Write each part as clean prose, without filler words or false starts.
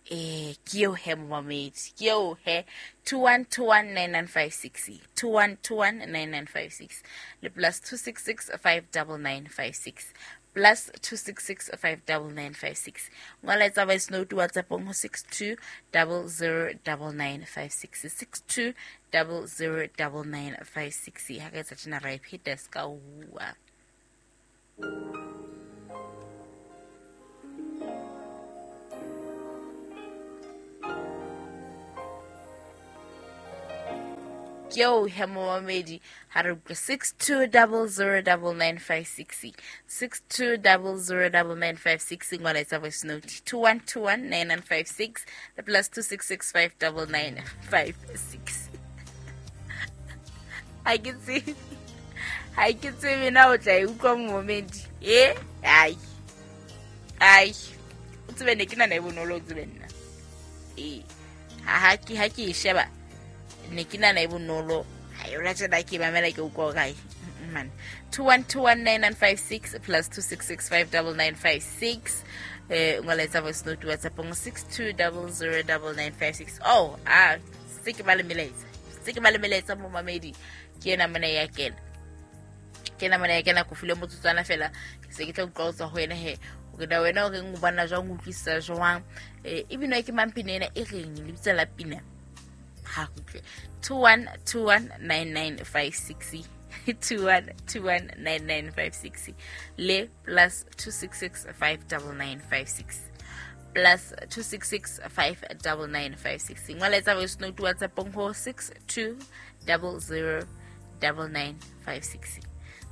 Ke eo he momamedi, ke eo he. 21219956, 21219956 le plus 266 59956, plus 266 59956. Ngola etsa voice note WhatsAppong ho 62 00 9956, 62 00 9956. Ha ka etsa tjena ra e pheta se ka hua. Ke eo he momamedi, ha re utlwe 62009956, 62009956. Ngola etsa voice note 21219956 le plus 26659956. Ha ke tsebe, ha ke tsebe na o tla e utlwa momamedi. E ai ai, o tsebe ne ke nana e bonolo, o tsebe nna ee ha ke e sheba ne ke nana e bonolo. Ha yona tjena ke mamela ke utlwa hore ai man. 21219956 plus 26659956. Ngola etsa voice note WhatsAppong 62009956. Oh, ah, se ke ba le melaetsa, se ke ba le melaetsa momamedi. Ke ena mona ya kena, ke ena mona ya kena. Ko file motsotswana fela, ke se ke tla utlwa ho tswa ho wena he hore na wena o reng, o bona jwang, o utlwisisa jwang. E binwa ke mang pina ena, e reng lebitso la pina? Ha utlwe. 21219956, 21219956 le plus 26659956, plus 26659956. Ngola etsa voice note WhatsAppong ho 62009956,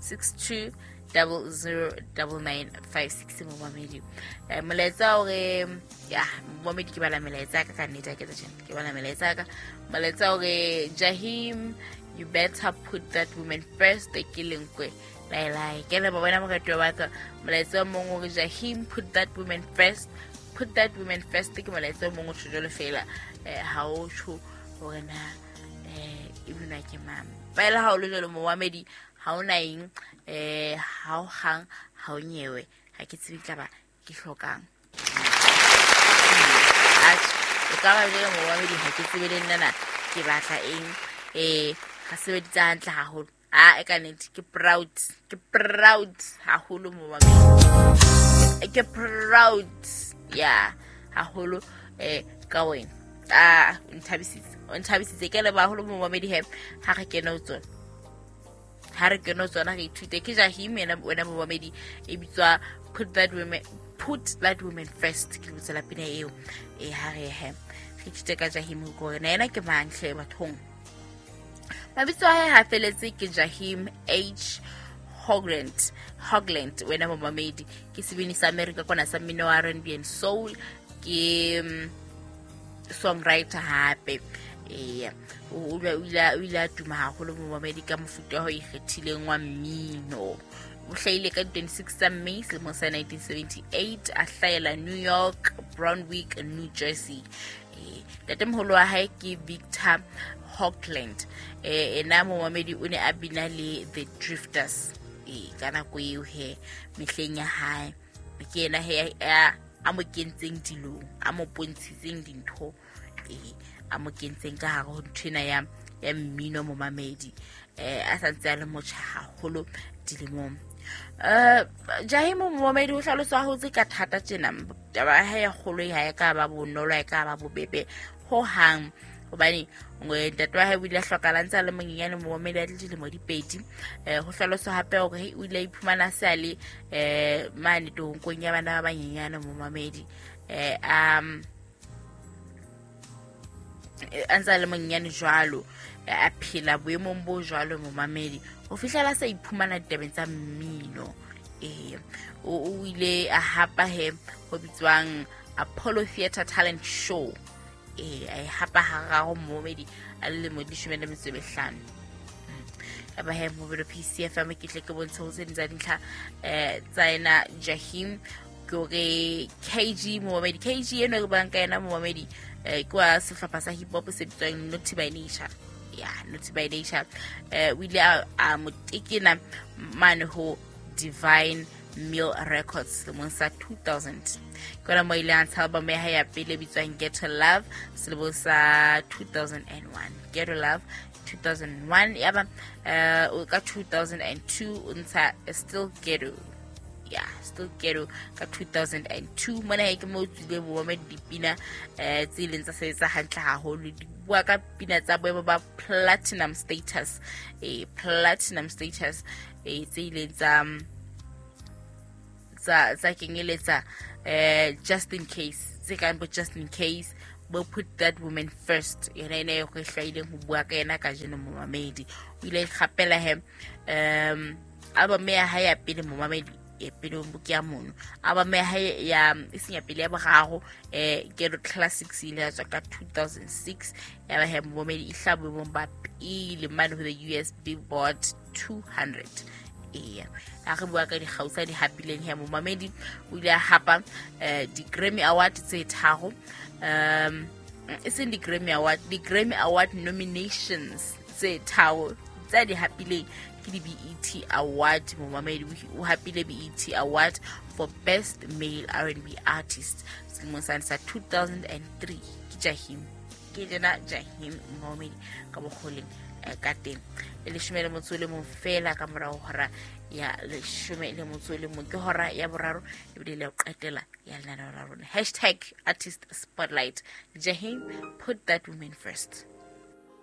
62009956. Momamedi, molaetsa hore ya momamedi, ke bala melaetsa ka ka nnete, ke tsa tjena, ke bala melaetsa ka molaetsa hore Jahim, you better put that woman first. Ke lenkwe lai lai ke le bona moratuwa wa ka. Molaetsa o mong hore Jahim, put that woman first, put that woman first. Ke molaetsa o mong o tjho jwalo fela, ha o tjho hore na e binwa ke mang. Fela ha o le jwalo momamedi, ha ona eng, ha o hang, ha o nyewe, ha ke tsebe tla ba ke hlokang. Atjhe, o ka ba jwalo momamedi, ha ke tsebe le nna na ke batla eng. Ga sebeditse hantle haholo. A e ka nnete ke proud, ke proud haholo momamedi, ke proud ya haholo ka wena. A o nthabisitse, o nthabisitse. Ke leboha haholo momamedi he. Ha re kene ho tsona, ha re kene ho tsona re ithute. Ke Jahim yena wena momamedi, e bitswa put that woman, put that woman first. Ke lebitso la pina eo. Ha re he re ithute ka Jahim hore na yena ke mang hle bathong. Mabitso a hae ha feletse ke Jahim H Hogland, Hogland wena momamedi. Ke sebini sa America kwana sa mmino wa R&B and soul, ke songwriter hape. O ile a tuma haholo momamedi ka mofuta o ikgethileng wa mmino. O hlahile ka 26 tsa May selemong sa 1978, a hlahela New York, Brunswick, New Jersey. Ntatemoholo wa hae ke Victor Hogland. Ena momamedi o ne a bina le The Drifters ka nako eo he mehleng ya hae. Ke yena he a mo kentseng dilong, a mo pontshitseng dintho, a mo kentseng ka hare ho nthwena ya mmino momamedi. A santse a le motjha haholo dilemong. Jahim momamedi o hlaloswa hotse ka thata tjena. Taba ya hae ya kgolo ha e ka ba bonolo, ha e ka ba bobebe ho hang, hobane ntate wa hae o ile a hlokahala ntse a le monyenyane momamedi, a le dilemo di 2. Ho hlaloswa hape hore o ile a iphumana se a le mane toronkong ya bana ba banyenyane momamedi, a ntse a le monyenyane jwalo, a phela boemong bo jwalo momamedi ho fihlela sa iphumana ditabeng tsa mmino. O ile a hapa he ho bitswang Apollo Theatre Talent Show. A e hapa hararo momamedi a le lemo di 15. Aba he mobile PCFM ke tle ke bontshe ho tse ding tsa dintlha tsa ena Jahim. Ke hore KG momamedi, KG eno re buang ka yena momamedi, ke wa sehlopha sa hip hop se bitswang Naughty by Nature. Ya Naughty by Nature. O ile a mo tekena mane ho Divine Mill Records selemong sa 2000. Ke yona mo ile a ntsha album ya hae ya pele e bitswang Ghetto Love selemong sa 2001. Ghetto Love 2001, yaba ka 2002 o ntsha Still Ghetto. Ya, Still Ghetto ka 2002. Mona he ke mo tswile bo dipina tse ileng tsa sebetsa hantle haholo, di bua ka pina tsa boemo ba platinum status, platinum status, tse ileng tsa kenyeletsa Just in Case, tse kang bo Just in Case, bo Put That Woman First, yona ene e go hlwaileng ho bua ka yena kajeno. Momamedi, o ile ikgapela he album ya hae ya pele, momamedi, e pele ke ya mono, album ya hae ya e seng ya pele, ya boraro, Ghetto Classics, ile ya tswa ka 2006. Ya ba he, momamedi, e hla boemong ba pele mane ho the US Billboard 200. Eya, a re bua ka dikgau tsa di hapileng he, momamedi, o ile a hapa di-Grammy Award tse tharo, e seng di-Grammy Award, di-Grammy Award nominations tse tharo tsa di hapileng ke di-BET Award. Momamedi, o hapile BET Award for Best Male R&B Artist selemong sane sa 2003. Ke Jahim, ke jena Jahim, momamedi, ka bokgoleng ka teng. E 11 fela ka morao hora ya 11, ke hora ya boraro ebile le ho qetela ya lenaneo la rona, #ArtistSpotlight. Jahim, Put That Woman First.